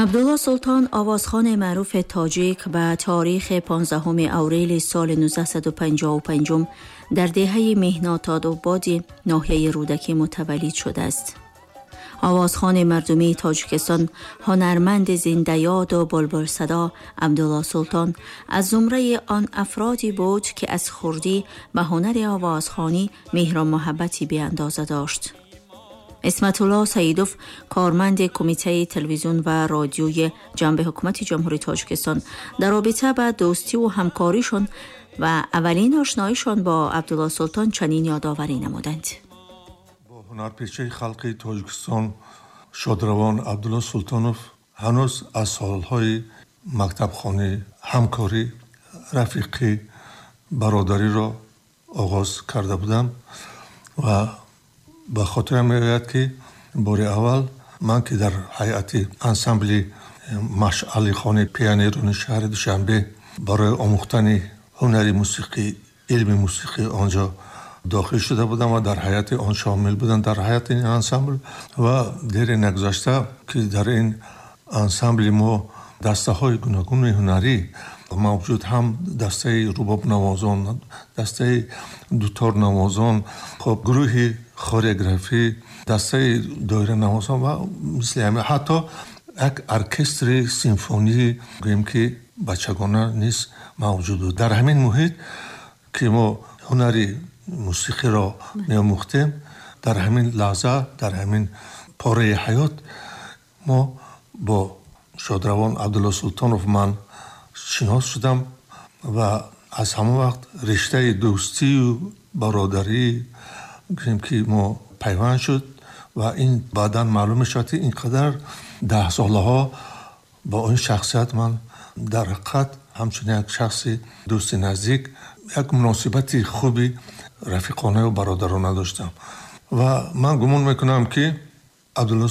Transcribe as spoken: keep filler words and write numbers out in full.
Абдулло Султон, овозхон маъруфи тоҷик, ба таърихи понздаҳуми апрели соли нуздаҳсаду панҷоҳу панҷум дар деҳаи Меҳнатодободи ноҳияи Рӯдакӣ мутаваллид шудааст. Овозхони мардумии Тоҷикистон, ҳунарманди зиндаёду булбулсадо Абдулло Султон аз зумраи он афроде буд, ки аз хурдӣ ба ҳунари овозхонӣ меҳру муҳаббати беандоза дошт. Исматулло Саидов, корманди Кумитаи телевизион ва радиои ҷанби ҳукумати Ҷумҳурии Тоҷикистон, дар робита ба дӯстиву ҳамкоришон ва аввалин ошноишон бо Абдулло Султон чунин ёдоварӣ намуданд. Бо ҳунарпешаи халқи Тоҷикистон шодравон Абдулло Султонов ҳанӯз аз солҳои мактабхонӣ ҳамкорӣ, рафиқӣ, бародариро оғоз карда будам ва ба хотирам меояд, ки бори аввал ман, ки дар ҳайати ансамбли Машъалихони пионерони шаҳри Душанбе барои омӯхтани ҳунари мусиқӣ, илми мусиқӣ он ҷо дохил шуда будам ва дар ҳайати он шомил будам, дар ҳайати ин ансамбл, ва дере нагузашта, ки дар ин ансамбли мо дастаҳои гуногуни ҳунарӣ мавҷуд, ҳам дастаи рубобнавозон, дастаи дуторнавозон, хоб, гурӯҳи хореографӣ, дастаи доиранавозон ва мисли ҳамин, ҳатто як оркестри симфонӣ, гӯем ки бачагона низ мавҷуд буд. Дар ҳамин муҳит, ки мо ҳунари мусиқиро меомӯхтем, дар ҳамин лаҳза, дар ҳамин пораи ҳаёт мо бо шодравон Абдулло Султонов ман шинос шудам ва аз ҳамон вақт риштаи дӯстию бародарӣ, гӯем ки мо пайванд шуд. Ва ин баъдан маълум мешавад, ки ин қадар даҳсолаҳо бо ин шахсият ман дар ҳақиқат ҳамчун як шахси дӯсти наздик як муносибати хуби рафиқонаю бародарона доштам. Ва ман гумон мекунам, ки Абдулло